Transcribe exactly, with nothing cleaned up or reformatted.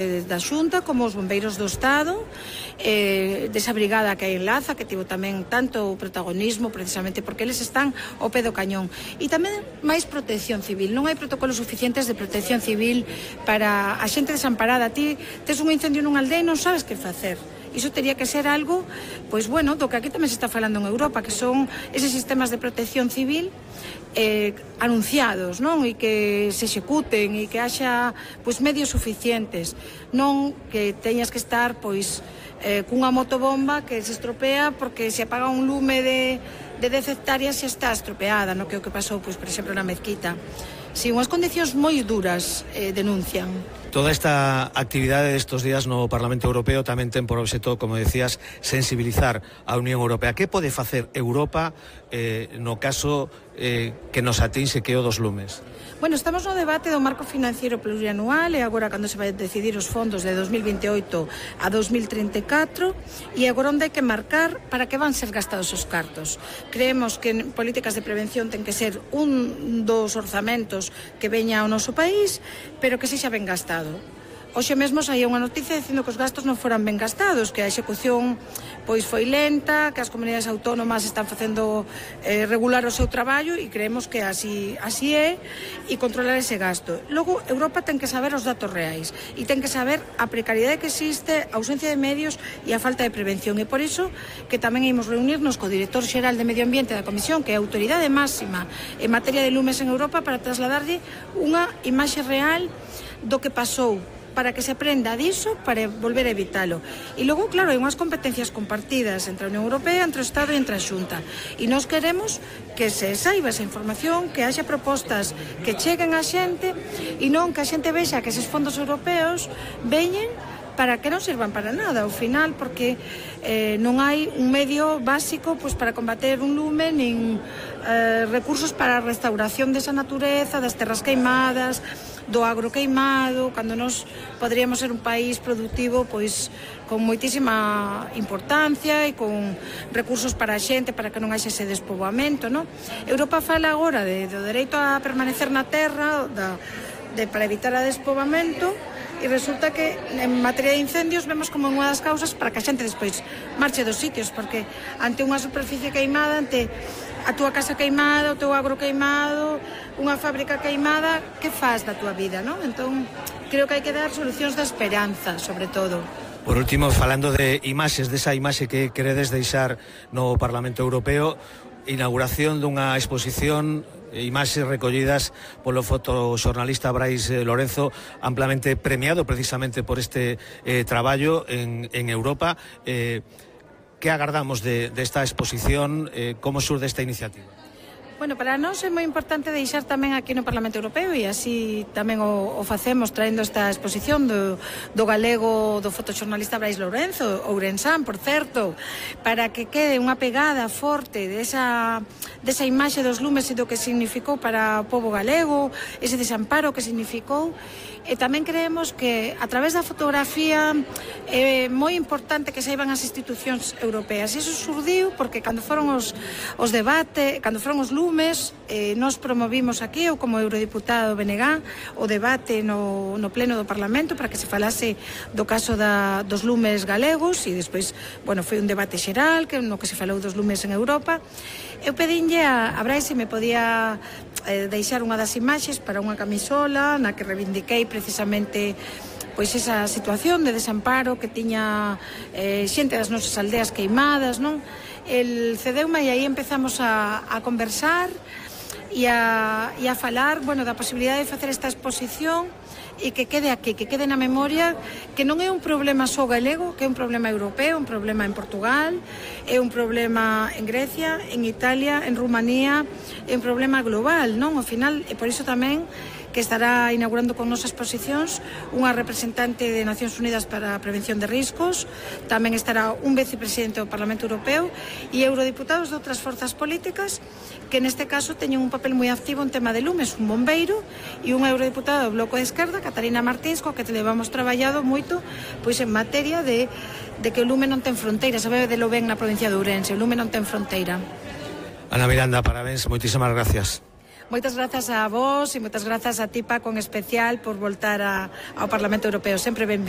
da Xunta como os bombeiros do Estado, eh, desa brigada que hai en Laza, que tivo tamén tanto protagonismo precisamente porque eles están ao pé do cañón, e tamén máis protección civil. Non hai protocolos suficientes de protección civil para a xente desamparada. Ti tes un incendio nunha aldea e non sabes que facer. Iso teria que ser algo, pois bueno, do que aquí tamén se está falando en Europa, que son eses sistemas de protección civil eh, anunciados, non? E que se executen e que haxa pois medios suficientes, non que teñas que estar pois eh, cunha motobomba que se estropea porque se apaga un lume de, de dez hectáreas e está estropeada, no? Que é o que pasou, pois, por exemplo, na Mezquita. Si, unhas condicións moi duras eh, denuncian. Toda esta actividade destes días no Parlamento Europeo tamén ten por obxecto, como decías, sensibilizar a Unión Europea. Que pode facer Europa eh, no caso eh, que nos atinxe que é o dos lumes? Bueno, estamos no debate do marco financiero plurianual e agora cando se vai decidir os fondos de dos mil vinte e oito a dos mil trinta e catro, e agora onde hai que marcar para que van ser gastados os cartos. Creemos que en políticas de prevención ten que ser un dos orzamentos que veña ao noso país, pero que sexa ben gastado. Hoxe mesmo saía unha noticia dicindo que os gastos non foran ben gastados, que a execución pois foi lenta, que as comunidades autónomas están facendo eh, regular o seu traballo, e creemos que así, así é, e controlar ese gasto. Logo, Europa ten que saber os datos reais e ten que saber a precariedade que existe, a ausencia de medios e a falta de prevención, e por iso que tamén imos reunirnos co director xeral de Medio Ambiente da Comisión, que é a autoridade máxima en materia de lumes en Europa, para trasladarlle unha imaxe real do que pasou, para que se aprenda diso, para volver a evitalo. E logo, claro, hai unhas competencias compartidas entre a Unión Europea, entre o Estado e entre a Xunta. E nós queremos que se saiba esa información, que haxa propostas que cheguen á xente, e non que a xente vexa que eses fondos europeos veñen para que non sirvan para nada ao final, porque eh, non hai un medio básico pois, para combater un lume, nin eh, recursos para a restauración desa natureza, das terras queimadas, do agro queimado, cando nós poderíamos ser un país productivo pois con moitísima importancia e con recursos para a xente, para que non haxe ese despoboamento, non? Europa fala agora de, do dereito a permanecer na terra, da, de, para evitar o despoboamento, e resulta que en materia de incendios vemos como unha das causas para que a xente despois marche dos sitios, porque ante unha superficie queimada, ante a túa casa queimada, o teu agro queimado, unha fábrica queimada, que faz da túa vida, non? Entón, creo que hai que dar solucións de esperanza, sobre todo. Por último, falando de imaxes, desa imaxe que queredes deixar no Parlamento Europeo, inauguración dunha exposición, imaxes recollidas polo fotoxornalista Brais Lorenzo, amplamente premiado precisamente por este eh, traballo en, en Europa. Eh, que agardamos de, de esta exposición? Eh, como surde esta iniciativa? Bueno, para nós é moi importante deixar tamén aquí no Parlamento Europeo, e así tamén o, o facemos traendo esta exposición do, do galego, do fotoxornalista Brais Lorenzo, ourensán, por certo, para que quede unha pegada forte desa, desa imaxe dos lumes e do que significou para o povo galego, ese desamparo que significou. E tamén creemos que a través da fotografía é moi importante que saiban as institucións europeas. Iso surdiu porque cando foron os, os debates, cando foron os lumes, eh, nós promovimos aquí, eu como eurodiputado Benegá, o debate no, no pleno do Parlamento para que se falase do caso da, dos lumes galegos, e despois, bueno, foi un debate xeral que, no que se falou dos lumes en Europa. Eu pedinlle a, a Brais se me podía eh, deixar unha das imaxes para unha camisola na que reivindiquei precisamente pois esa situación de desamparo que tiña eh, xente das nosas aldeas queimadas, non? El cedeume e aí empezamos a, a conversar e a, e a falar, bueno, da posibilidade de facer esta exposición e que quede aquí, que quede na memoria, que non é un problema só galego, que é un problema europeo, un problema en Portugal, é un problema en Grecia, en Italia, en Rumanía, é un problema global, non? Ao final, e por iso tamén que estará inaugurando con nosas exposicións unha representante de Nacións Unidas para a Prevención de Riscos, tamén estará un vicepresidente do Parlamento Europeo e eurodiputados de outras forzas políticas que neste caso teñen un papel moi activo en tema de lumes, un bombeiro e unha eurodiputada do Bloco de Esquerda, Catarina Martins, co que te levamos traballado moito pois en materia de, de que o lume non ten fronteira, sabe de lo ben na provincia de Ourense, o lume non ten fronteira. Ana Miranda, parabéns, moitísimas gracias. Moitas grazas a vos e moitas grazas a ti, Paco, en especial, por voltar a, ao Parlamento Europeo. Sempre benvido.